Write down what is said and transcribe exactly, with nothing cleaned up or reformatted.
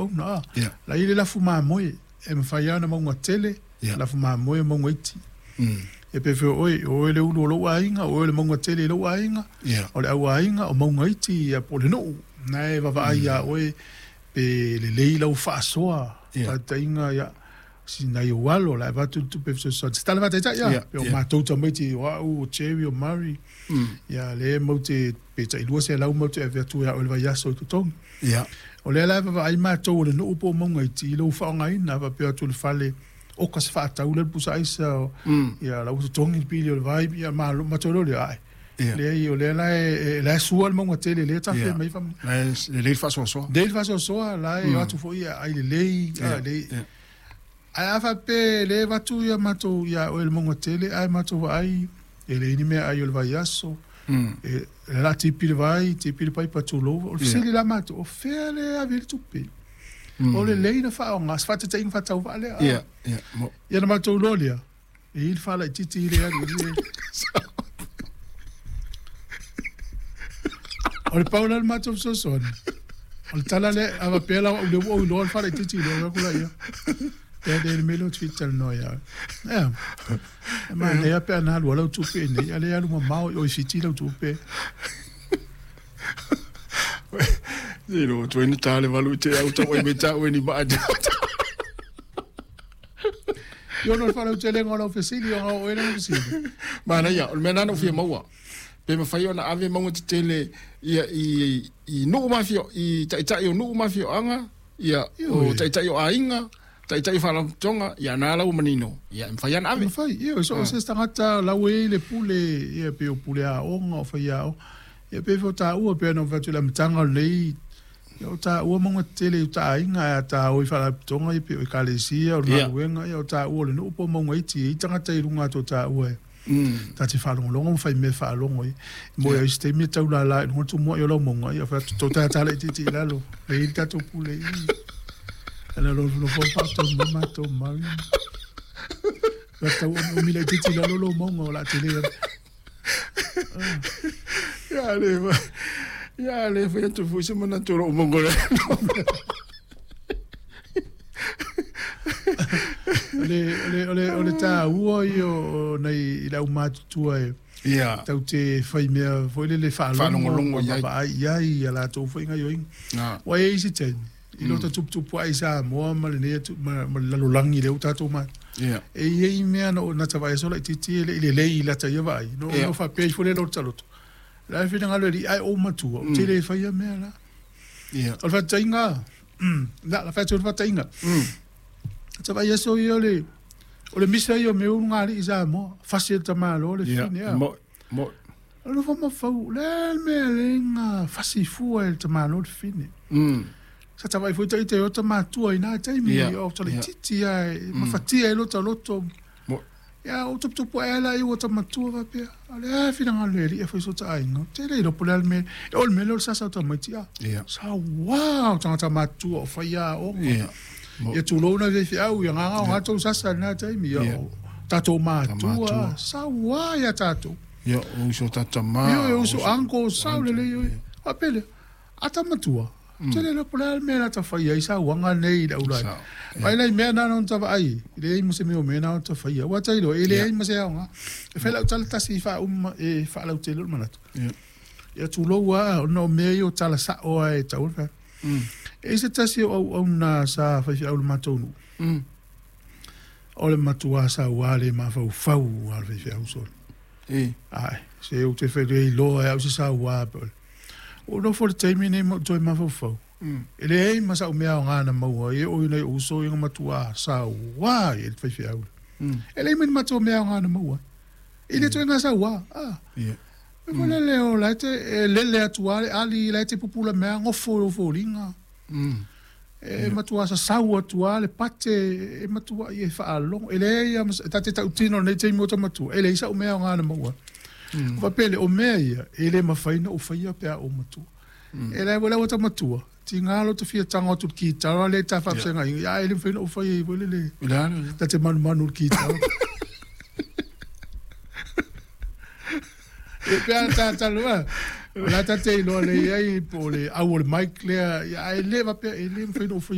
auauna a. Ia. La i le lafu mamoe e mafai lava ona mauga tele, Ia. lafu mamoe o mauga iti. Mm. E pe fea oe, o oe le ulu o lou aiga, o oe le mauga tele i lou aiga, Ia. o le au aiga, o mauga iti, ia po o le nuu. Na e vaavaai ia oe pe lelei lau faasoa, Ia. faataitaiga, ia, si nai ou alo, la e avatu le tupe fesoasoani. Se tala faataitai ia, Ia, pe o ia. matou tamaiti, o au, o Jerry, o Murray, Mm. ia lea matou te pe tailua selau matou te ave atu ia oe i le vaiaso i totogi. Ia. O lea la e vaavaai matou o le nuu po o mauga iti i lou faaaogaina, faapea atu i le fale, oka se faatau lea le pusa aisa, o, Mm. ia la ua totogi le pili o le vai, ia malo, matou loa lea, ai. Ia. Leai, o lea la e, e, la e sua le mauga tele, lea tafe Ia. mai faamanuia. La e lelei le faasoasoa. Lelei le faasoasoa, la e o atu foi ia ai lelei, Ia. a lelei. Ia. Ae a faapea le avatu ia matou ia oe le mauga tele, ae matou vaai, e leai ni meaai o le vaiaso, Mm. e le la tipi le vai, tipi le paipa tulou. O le Ia. fesili la matou, o fea le ave i le tupe? Mm. O lelei na faaaoga, se faataitaiga faatauvaa lea. Ia. Ia. Mo. Ia na matou iloa lea, e i le faalaitiiti i le alu i le. O le pau la le matou fesoasoani. O le tala lea, a faapea la au lea ua ou iloa le faalaitiiti i le alu atu la ia. Lea le mea lea ou te fia talanoa ia oe. Ea, e manaia pe ana alu ai lau tupe i nei, a lea e alu mamao i o i Fiti lau tupe. Se lo tu ina tā le valu i te au tau ai me tā ue ni maa. Ia ona o le faalautelega o lau fesili, ona o oe lana fesili. Manaia, o le mea lena na ou fia maua. Pe mafai ona ave mauga tetele ia i i nuu ma afio i taitai o nuu ma afioaga, ia o Ioe. taitai o aiga, taitai o faalapotopotoga, ia na la ua manino. Ia e mafai ona ave. Mafai, ia, so o se tagata lau e i le pule, ia pe o pule aoga, o faiaoga. Ia pe fai o taua, pe ana fai atu i le amataga o lenei, ia o taua mauga tetele i uta aiga, ae a taua i faalapotopotoga, ia pe o ekalesia, o le Ia. galuega, ia o taua o le nuu po o mauga iti, e i ai tagata i luga atu o taua e. Mm. Ta te faalogologo ma fai mea faalogo ai. Mo ia isi taimi e taulala i luga tumuai o lau mauga, ia fai atu tou tatala itiiti i lalo, le i le tatou pule i. Ana lo lo fo faatonu mai matou mari. La tau o mila itiiti i lalo lou mauga o le a tele atu. Ia le fa. Ia le fai atu foi se manatu o lou mauga le. O le, o le, o le, o le taua ia o nai i le aumatutua e Ia. tau te fai mea foi lele Faalogologo faalogologo i ai. vaai i ai ia latou foi gaioiga. Na. Ua i ai isi taimi, i lo tatuputupu ai Samoa ma lenei atu, ma, ma le lalolagi lea ua tatou mata. Ia. E i ai mea na, na ta vaai aso laitiiti e le i lelei i lata ia vaai. No, Ia. no faapea ifo lea lo taloto. La e finagalo e alii, ai ou matua, ou te le faia mea la. Ia. O le faataitaiga, mm, la, la fai atu le faataitaiga. Mm. Ta vaai aso ia o le, o le misa ia o mea ulu alii i Samoa, fasi e le tamālo le Ia. fine, a. Mo mo. O le mafaufau, le a le mea le ga fasi fua e le tamālo le fine. Mm. Sa ta vaai foi taita i ota matua i nā taimi, Ia, o ta ia. laitiiti a, e mafatia ai lota loto. Mo. Ia, o tuputupu ae la i ua ta matua faapea. O le a finagalo e alii e fai so ta aiga. Tele iloa po o le a le mea. E o le mea lea o le sasa o tamaiti a. Ia. Sa uā o tagata matutua o fai aoga. Ia. Mo. Ia tulou na faifeau, ia gaga o gatou sasa i lena taimi. Ia, Ia. o tatou matua, matua. sa uā ia tatou. Ia o uso tatama. Ioe, o uso uncle, sao lelei oe. Faapea lea, a ta matua, tele iloa po o le a le mea la ta faia ai sauaga nei i le aulai. Sao. Mai lai mea na ona ta vaai, e leai ma se mea o mea na ona ta faia. Ua tailo, e leai ma se aoga. E fai lau tala tasi i faauma, e faalautele o le manatu. Ia. Ia tulou lava, ona o mea ia o tala sao lava e tau le fai. Mm. E i se tasi o auauna sa faifeau i le matou nuu. Mm. O le matua sauā le mafaufau a le faifeau sole. E. Ai, se ou te whaere iloa e au se sauā pe ole. O nofo le taimi nei ma toe mafaufau. Mm. E leai ma sa'u mea aoga na maua ai e oi nei o uso ia matua sauā i le faifeau. Mm. E leai ma ni matou mea aoga na maua. E le toe ngā sauā. Ah. Ia. E mm. lele o la te e lele atu a le ali la te pupula mea ngofo o foliga. Mm. E matua sasau atu a le pate e matua i e faalogo. E leai a mas- ta te tautino nei taimi o ta matua. E leai sa'u mea aoga na maua. Mm. Faapea le o mea ia, e le mafai ona ou faia pe a ou matua. E le ua ta matua, tiga lo te fia tago atu i le kitara lea ta faafesagaiga, ia e le mafai ona ou faia ai foi le le. I le a le. Ta te manumanu i le kitara. E pe a tatalo a, o la tate iloa lelei ai po o le au o le mic lea, ia ae le faapea e le mafai ona ou faia